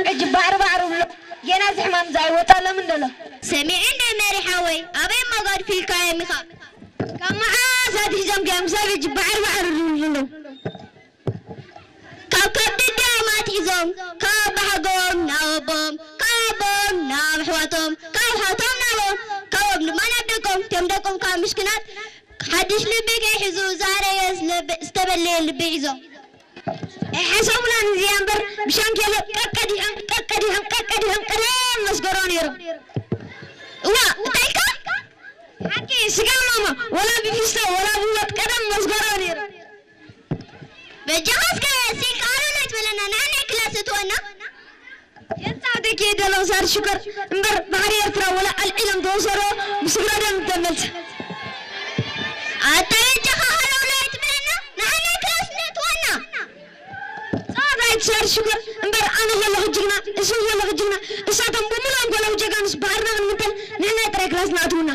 ሕጂ ባዕሪ ባዕሪ ብሎ ጌና እዚ ሕማም እዚ ኣይወፃሎምን ደሎ። ሰሚዐ እንደ መሪ ሓወይ ኣበይ እሞ ገድፊልካዮም ኢኻ? ካብ መዓስ ኣትሒዞም ድዮም ሰብ ሕጂ ባዕሪ ባዕሪ ዝብሉ ዘለዉ? ካብ ከብዲ ድዮም ኣትሒዞም ካብ ኣባሓጎኦም ናብ ኣቦም ካብ ኣቦም ናብ ኣሕዋቶም ካብ ኣሕዋቶም ናብ ካብ ኣቦም ድማ ናብ ደቆም እቶም ደቆም ካብ ምሽክናት ሓድሽ ልቢ ከይሕዙ ዛረየ ዝተበለየ ልቢ ሒዞም። ኣይሓሰቡላን እዚኣ እምበር ብሻንኬሎ ቀቀዲሖም ቀቀዲሖም ቀቀዲሖም ቀደም መስገሮ ነይሮም። እዋ እንታይ ኢልካ? ሓቂ ስጋ ማማ ወላ ብፊስቶ ወላ ብወጥ ቀደም መስገሮ ነይሮም። በጃኻ እስከ ሲልካ ኣሎሎ ትበለና ንዓናይ ክላስ እትወና። የንጻውተኪ የደሎም ሳር ሽኮር እምበር ባሕሪ ኤርትራ ወላ ኣልዒሎም ተወሰዶ ብስግረዶም ተመልሰ። ኣታ በጃኻ ኣሎሎ ትበለና ንዓናይ ክላስ እትወና። ጸዋታ ኣይትሻር ሽኮር እምበር ኣነ ዘለኹ ጅግና እሱ ዘለኹ ጅግና እሳቶም ብምሎም ኮለው ጀጋኑስ ባሕርና ክንምተል ንሕና ጥራይ ክላስ ንኣትውና።